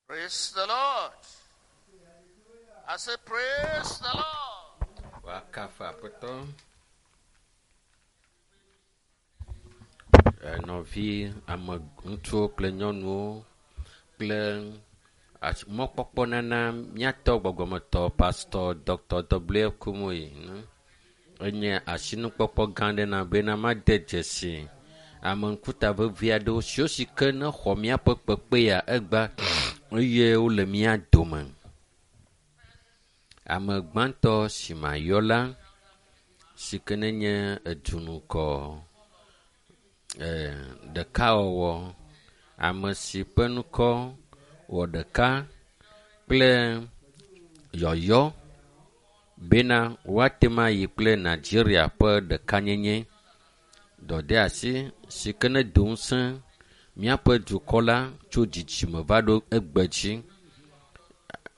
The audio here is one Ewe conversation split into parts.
Praise the Lord. I say, Praise the Lord. Woakafu Aƒetɔ. Nɔvi ame ŋutsuwo kple nyɔnuwo kple mɔkpɔkpɔ nana míatɔ gbɔgbɔmetɔ Pastor Dr. W. Kumuyi. Enye asinukpɔkpɔ gã aɖe na bena made dzesi ame ŋkuta vevi aɖewo siwo si ke ne xɔ míaƒe kpekpe ya egba eye wole mía dome. Ame gbãtɔ si mayɔ la si ke nenye edunukɔ ɖekawɔwɔ ame si ƒe ŋkɔ wɔ ɖeka kple yɔyɔ bena woate ŋu ayi kple Nigeria ƒe ɖekanyenye. Dɔdeasi si ke ne do ŋusẽ míaƒe dukɔ la tso dzidzime va ɖo egbe dzi.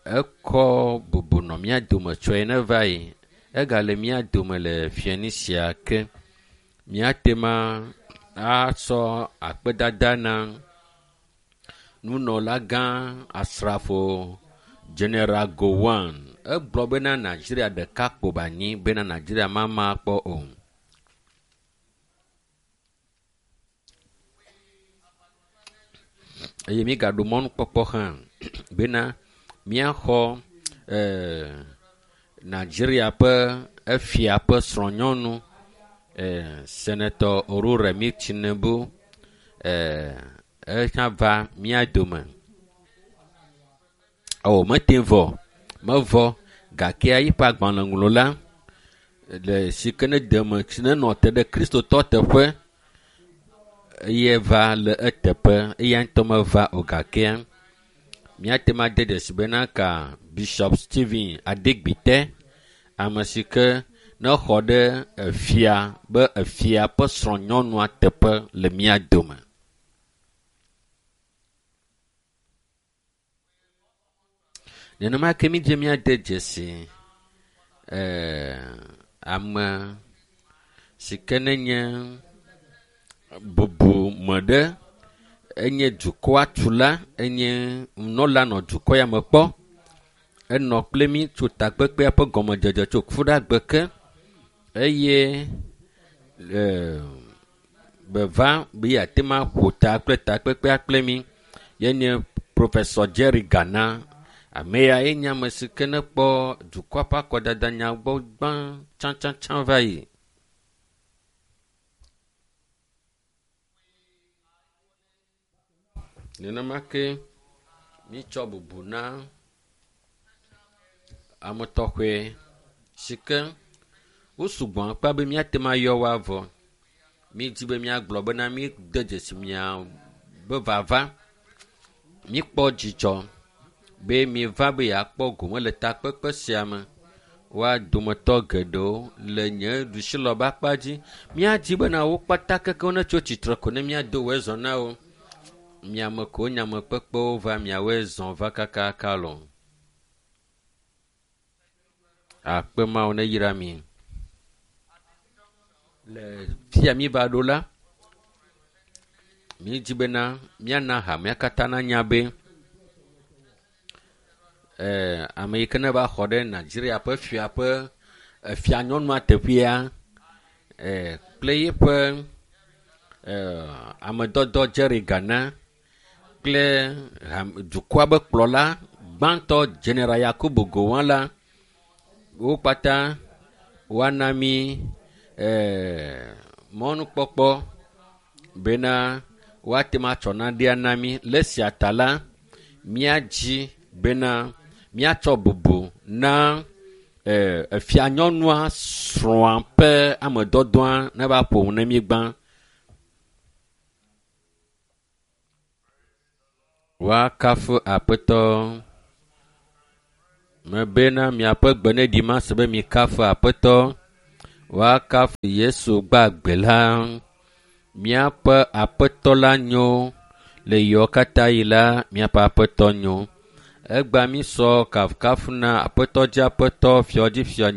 Ekɔ bubu nɔ mía dome tsɔe ne va yi. Egale mía dome le fiẽni sia ke. Míate ŋu asɔ akpedada na nunɔlagã asrafo General Gowon. Egblɔ bena Nigeria ɖeka kpo ba anyi bena Nigeria mama kpɔ o. Eye mígaɖo mɔnukpɔkpɔ hã bena míaxɔ Nigeria ƒe efia ƒe srɔ̃nyɔnu Senator Oluremi Tinubu ehã va mía dome. O mete vɔ, mevɔ gake eƒe agbalẽŋlɔla le si ke ne deme si nenɔ te ɖe kristotɔ teƒe eye va le eteƒe eya ŋutɔ meva o gakea míate ŋu ade dzesi bena ka Bishop Stephen Adegbite ame si ke ne xɔ ɖe efia be efia ƒe srɔ̃nyɔnua teƒe le mía dome. Nenema ke mídze míade dzesi ame si ke nenye bubume ɖe enye dukɔa tula enye nunɔla nɔ dukɔ ya me kpɔ. Enɔ kple mí tso takpekpea ƒe gɔmedzedze tso kuɖagbe ke eye beva be yeate ŋu aƒo ta kple takpekpea kple mí. Yenye Professor Jerry Gana. Ame ya ye nye ame si ke ne kpɔ dukɔa ƒe akɔdada nya gbɔ gbã tsãtsãtsã va yi. Nenema ke mítsɔ bubu na ame tɔxɛ si ke wo sugbɔ akpa be míate ŋu ayɔ wo avɔ. Mídi be míagblɔ bena míde dzesi mia be vava. Míkpɔ dzidzɔ be miva be yeakpɔ gome le takpekpe sia me. Woa dometɔ geɖewo le nye ɖusilɔbe akpa dzi. Míadi bena wo kpata kekewo netso tsitre ko ne míado woe zɔ na wo. Miame ko nyamekpekpewo va miawoe zɔ va kakaka lɔ. Akpe Mawu ne yra mi. Le fia mi va ɖo la, mídi bena míana hamea katã nanya be ame yi ke ne va xɔ ɖe Nigeria ƒe fia ƒe fianyɔnua teƒea kple yeƒe amedɔdɔ Jerry Gana kple dukɔa be kplɔla gbãtɔ General Yakubu Gowon la, wo kpata woana mi mɔnukpɔkpɔ bena woate ŋu atsɔ naɖea na mi. Le esia ta la, míadzi bena míatsɔ bubu na efianyɔnua srɔ̃a ƒe amedɔdɔa ne va ƒo nu ne mí gbã. Woakafu Aƒetɔ. Mebena miaƒe gbe ne ɖi mase be mikafu Aƒetɔ. Woakafu Yesu gbagbe la. Míaƒe Aƒetɔ la nyo. Le yiwo katã yi la, míaƒe Aƒetɔ nyo. Egba mi sɔ kafukafu na Aƒetɔ dzi Aƒetɔ, fiɔ dzi fiɔ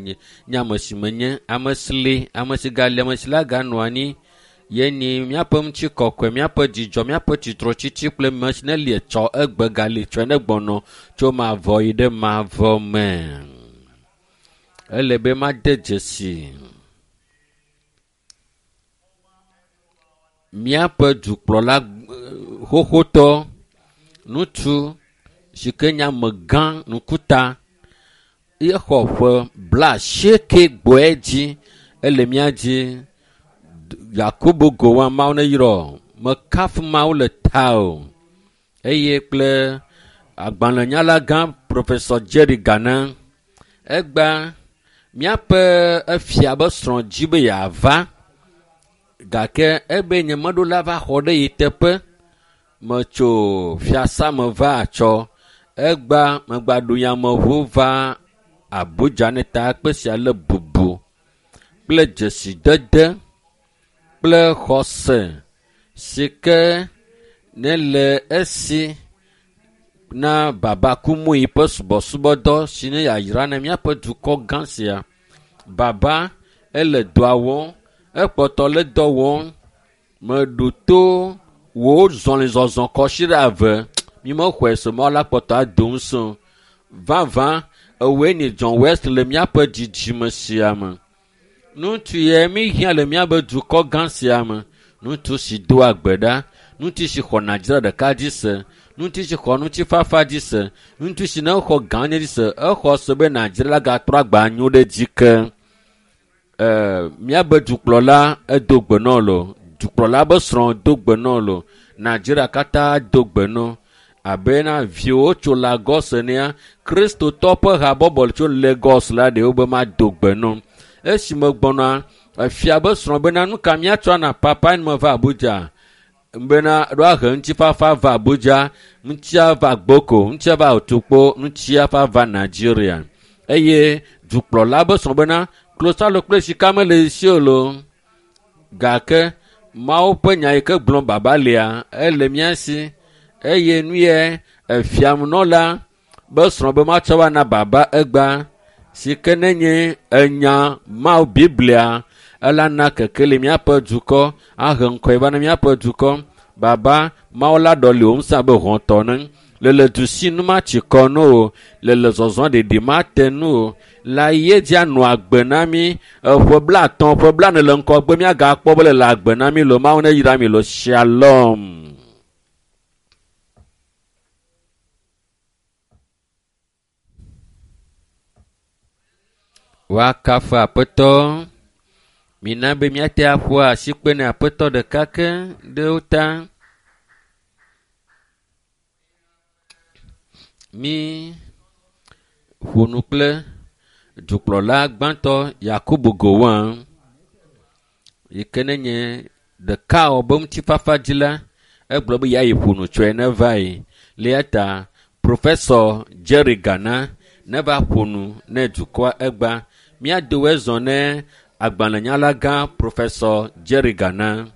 nye ame si menye, ame si li, ame si gali, ame si la ganɔ anyi. Ye ni míaƒe ŋutikɔkɔe, míaƒe dzidzɔ, míaƒe tsitretsitsi kple me si ne li etsɔ egbe gali tsɔe ne gbɔnɔ tso mavɔ yi ɖe mavɔ me. Ele be made dzesi míaƒe dukplɔla xoxotɔ, ŋutsu si ke nye amegã ŋkuta, exɔ ƒe 81 dzi, ele mía dzi. Yakubu Gowon Mawu ne yrɔ, mekafu Mawu le ta o. Eye kple agbalẽnyalagã Professor Jerry Gana. Egba míaƒe efia be srɔ̃ dzi be yeava gake ebe nyemeɖo la va xɔ ɖe yi teƒe. Metso fiasa me va atsɔ. Egba megba ɖo yameʋu va Abuja ne takpe sia le bubu kple dzesidede kple xɔse si ke ne le esi na Baba Kumuyi ƒe subɔsubɔdɔ si nye yayra na míaƒe dukɔ gã sia. Baba ele dɔa wɔm, ekpɔtɔ le dɔ wɔm. Meɖo to wò zɔlizɔzɔ kɔsiɖe eve. Mi mexɔe se mɔ la kpɔtɔ ado ŋusẽ. Vavã ewɔe ni John West le míaƒe dzidzime sia me. Ŋutsu ye mi hiã le míaƒe dukɔ gã sia me. Ŋutsu si doa gbe ɖa, ŋutsu si xɔ Nigeria ɖeka dzi se, ŋutsu si xɔ ŋutifafa dzi se, ŋutsu si ne xɔ gã dzi se, exɔ se be Nigeria la gatrɔ agba nyo ɖe dzi ke. Míaƒe dukplɔla edo gbe nɔ lo, dukplɔla be srɔ̃ do gbe nɔ lo, Nigeria katã do gbe nɔ. Abena viwo tso Lagos enea, Kristotɔ ƒe habɔbɔ tso Lagos la ɖewo be mado gbe nɔ. Esi megbɔna, efia be srɔ̃ bena nu ka míatsɔ ana papa ne meva Abuja bena ɖo ahe ŋutifafa va Abuja, ŋutia va Gboko, ŋutia va Otukpo, ŋutia va va Nigeria. Eye dukplɔla be srɔ̃ bena klosalo kple sika mele esi o loo. Gake Mawu ƒe nya yi ke gblɔm baba lia, ele mía si. Eye nu ye efiamenɔla be srɔ̃ be matsɔ va na baba egba si ke nenye enya Mawu Biblia ela na kekeli míaƒe dukɔ, ahe ŋkɔe va na míaƒe dukɔ. Baba Mawu la ɖɔli wò ŋusẽ abe hɔ̃tɔ ne. Le du si nu matsi kɔ no o, le zɔzɔ ɖeɖi mate nu o. La ye dzi anɔ agbe na mí. Eƒe 50, ƒe 40 le ŋgɔgbe míagakpɔ be le agbe na mí lo. Mawu ne yra mi lo. Shalom. Woakafu Aƒetɔ. Mina be míate aƒo asikpe ne Aƒetɔ ɖeka ke ɖe wo ta. Mi ƒo nu kple dukplɔla gbãtɔ Yakubu Gowon yi ke ne nye ɖeka wɔ be ŋutifafa dzi la, egblɔ be yeayi ƒo nu tsɔe ne va yi. Le eya ta Professor Jerry Gana ne va ƒo nu ne dukɔa egba. Míado ezɔ ne agbalẽnyalagã Professor Jerry Gana.